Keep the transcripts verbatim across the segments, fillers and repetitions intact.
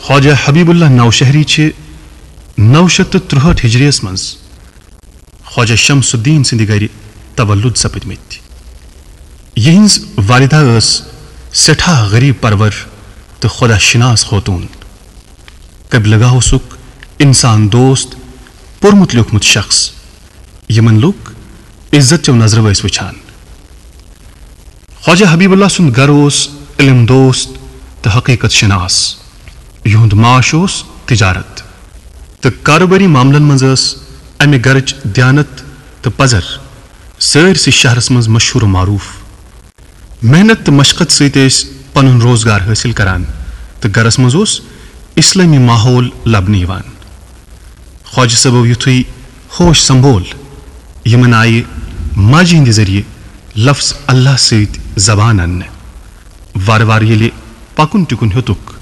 خواجہ حبیب اللہ نوشہری چھِ نو شیٚتھ تہٕ ترٛہٲٹھ ہجریَس منٛز خواجہ شمس الدین سٕنٛدِ گرِ تولد سپٕدمٕتۍ۔ یِہٕنٛز والدہ ٲس سٮ۪ٹھاہ غریب پرور تہٕ خۄدا شناس خوتوٗن۔ قبلگاہ اوسُکھ انسان دوست، پوٚرمُت لیوٚکھمُت شخص، یِمن لُکھ عزت چٮ۪و نظرو ٲسۍ وٕچھان۔ خواجہ حبیب اللہ سُنٛد گرٕ اوس علم دوست تہٕ حقیقت شناس۔ یِہُنٛد معاش اوس تجارت تہٕ کارٕبٲری معاملن منٛز ٲس امہِ گرٕچ دیانت تہٕ پزر سٲرسٕے شہرس منٛز مشہوٗر و معروٗف۔ محنت تہٕ مشقت سۭتۍ ٲسۍ پنُن روزگار حٲصِل کران تہٕ گرس منٛز اوس اسلٲمی ماحول لبنہٕ یِوان۔ خواجہ صٲبو یُتھُے ہوش سنبھول، یِمن آیہِ ماجہِ ہٕنٛدِ ذٔریعہٕ لفظ اللہ سۭتۍ زبان اننہٕ۔ وارٕ وارٕ ییٚلہِ پکُن ٹِکُن ہیوٚتُکھ،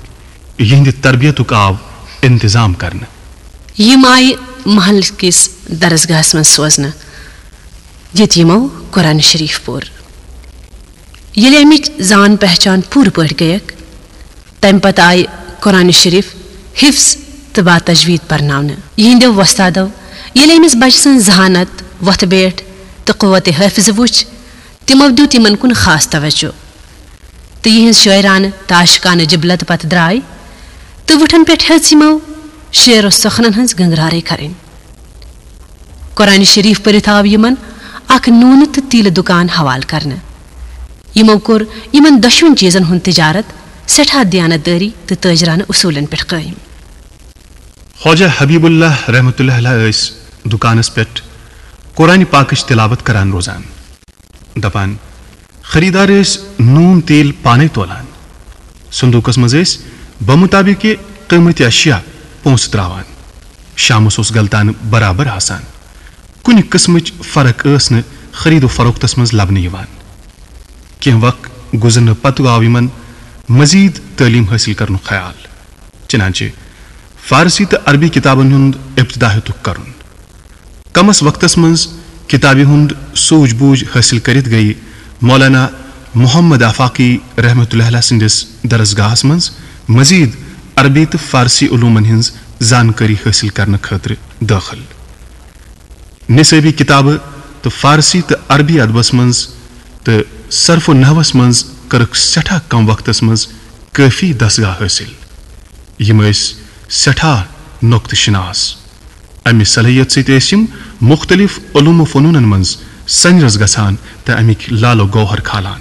یِہنٛدِ تربیتُک آو انتظام کرنہٕ۔ یِم آیہِ محلہٕ کِس درسگاہس منٛز سوزنہٕ، ییٚتہِ یِمو قرآن شریف پوٚر۔ ییٚلہِ اَمِچ زان پہچان پوٗرٕ پٲٹھۍ گٔیَکھ، تَمہِ پتہٕ آیہِ قرآن شریف حفظ تہٕ با تجوید پرناونہٕ۔ یِہنٛدیو وۄستادو ییٚلہِ أمِس بچہٕ سٕنٛز ذہانت، وۄتھٕ بیٹھ تہٕ قوت حافظ وُچھ، تِمو دیُت یِمن کُن خاص توجہ۔ تہٕ یِہنٛز شٲعرانہٕ تہٕ عاشقانہٕ جبلت پتہٕ درٛاے تہٕ وُٹھن پٮ۪ٹھ ہیٚژ یِمو شعر و سخنن ہٕنٛز گنگرارے کرٕنۍ۔ قرآن شریف پٔرِتھ آو یِمن اکھ نوٗنہٕ تہٕ تیٖلہٕ دُکان حوالہٕ کرنہٕ۔ یِمو کوٚر یِمن دۄشوٕنۍ چیٖزن ہُنٛد تجارت سٮ۪ٹھاہ دیانت دٲری تہٕ تٲجرانہٕ اصوٗلن پٮ۪ٹھ قٲیِم۔ خواجہ حبیب اللہ رحمتہ اللہ علیہ ٲسۍ دُکانس پٮ۪ٹھ قرآن پاکٕچ تلاوت کران روزان۔ دپان، خریدار ٲسۍ نوٗن تیٖل پانے تولان۔ صندوقس منٛز ٲسۍ بمطابق قۭمتِ اشیاء پونٛسہٕ تراوان۔ شامس اوس غلطانہٕ برابر آسان۔ کُنہِ قٕسمٕچ فرق ٲس نہٕ خرید و فروختس منٛز لبنہٕ یِوان۔ کینٛہہ وق گُزرنہٕ پتہٕ آو یِمن مزید تعلیٖم حٲصِل کرنُک خیال۔ چنانچہ فارسی تہٕ عربی کتابن ہُنٛد ابتدا ہیوٚتُکھ کرُن۔ کمس وقتس منٛز کتابہِ ہُنٛد سوٗجھ بوٗجھ حٲصِل کٔرِتھ گٔیہِ مولانا محمد آفاقی رحمتہ اللہ علیہ سٕنٛدِس درسگاہس منٛز مزید عربی تہٕ فارسی علومن ہٕنٛز زانکٲری حٲصِل کرنہٕ خٲطرٕ دٲخل۔ نصٲبی کتابہٕ تہٕ فارسی تہٕ عربی ادبس منٛز تہٕ صرف و نحوس منٛز کٔرٕکھ سٮ۪ٹھاہ کم وقتس منٛز کٲفی دستگاہ حٲصِل۔ یِم ٲسۍ سٮ۪ٹھاہ نۄقطہٕ شناس۔ امہِ صلٲحیت سۭتۍ ٲسۍ یِم مُختٔلِف علوم و فنوٗنن منٛز سنجرس گژھان تہٕ امِکۍ لال و گوہر کھالان۔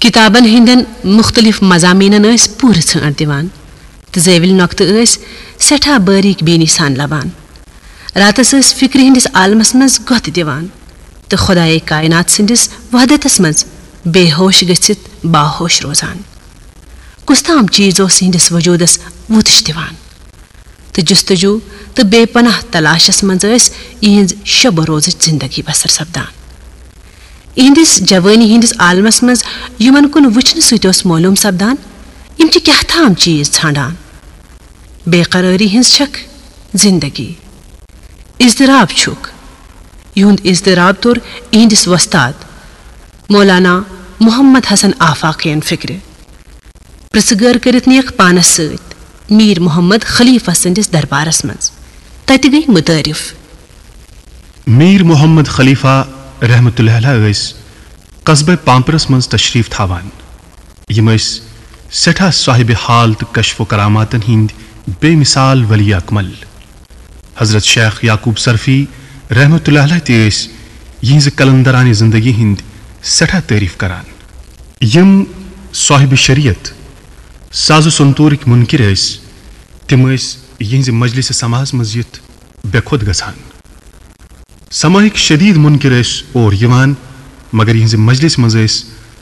کتابن ہٕنٛدٮ۪ن مُختٔلِف مضامینن ٲسۍ پوٗرٕ ژھانٛڈ دِوان تہٕ زٲوِلۍ نۄقطہٕ ٲسۍ سٮ۪ٹھاہ باریٖک بیٖنی سان لبان۔ راتس ٲسۍ فکرِ ہٕنٛدِس عالمس منٛز گۄتھ دِوان تہٕ خۄدایے کائنات سٕنٛدِس وحدتس منٛز بے ہوش گٔژھِتھ باہوش روزان۔ کُس تام چیٖز اوس یِہنٛدِس وجوٗدس وُتش دِوان۔ تہٕ جستجو تہٕ بے پناہ تلاشس منٛز ٲسۍ یِہنٛز شب و روزٕچ زندگی بسر سپدان۔ یِہنٛدِس جوٲنی ہٕنٛدِس عالمس منٛز یِمن کُن وٕچھنہٕ سۭتۍ اوس معلوم سپدان، یِم چھِ کیٛاہ تام چیٖز ژھانٛڈان۔ بے قرٲری ہٕنٛز چھکھ زندگی۔ اضطراب چھُکھ۔ یِہُنٛد اضطراب توٚر یِہنٛدِس وۄستاد مولانا محمد حسن آفاقین فکرِ۔ پرژھٕ گٲر کٔرِتھ نِیَکھ پانس سۭتۍ میر محمد خلیفہ سٕنٛدِس دربارس منٛز۔ تتہِ گٔیۍ متعارف۔ میر محمد خلیفہ رحمتہ اللہ علیہ ٲسۍ قصبہ پامپرس منٛز تشریف تھاوان۔ یِم ٲسۍ سٮ۪ٹھاہ صاحب حال تہٕ کشف و کراماتن ہٕنٛدۍ بے مثال ولی اکمل۔ حضرت شیخ یعقوب صرفی رحمتہ اللہ علیہ تہِ ٲسۍ یِہنٛزِ قلندرانہِ زندگی ہٕنٛدۍ سٮ۪ٹھاہ تعریف کران۔ یِم صاحب شریعت، ساز و سنتورٕکۍ منکر ٲسۍ، تِم ٲسۍ یِہنٛزِ مجلس سماعس منٛز یِتھ بے خود گژھان۔ سماعٕکۍ شدید منکر ٲسۍ اور یِوان، مگر یِہنٛزِ مجلس منٛز ٲسۍ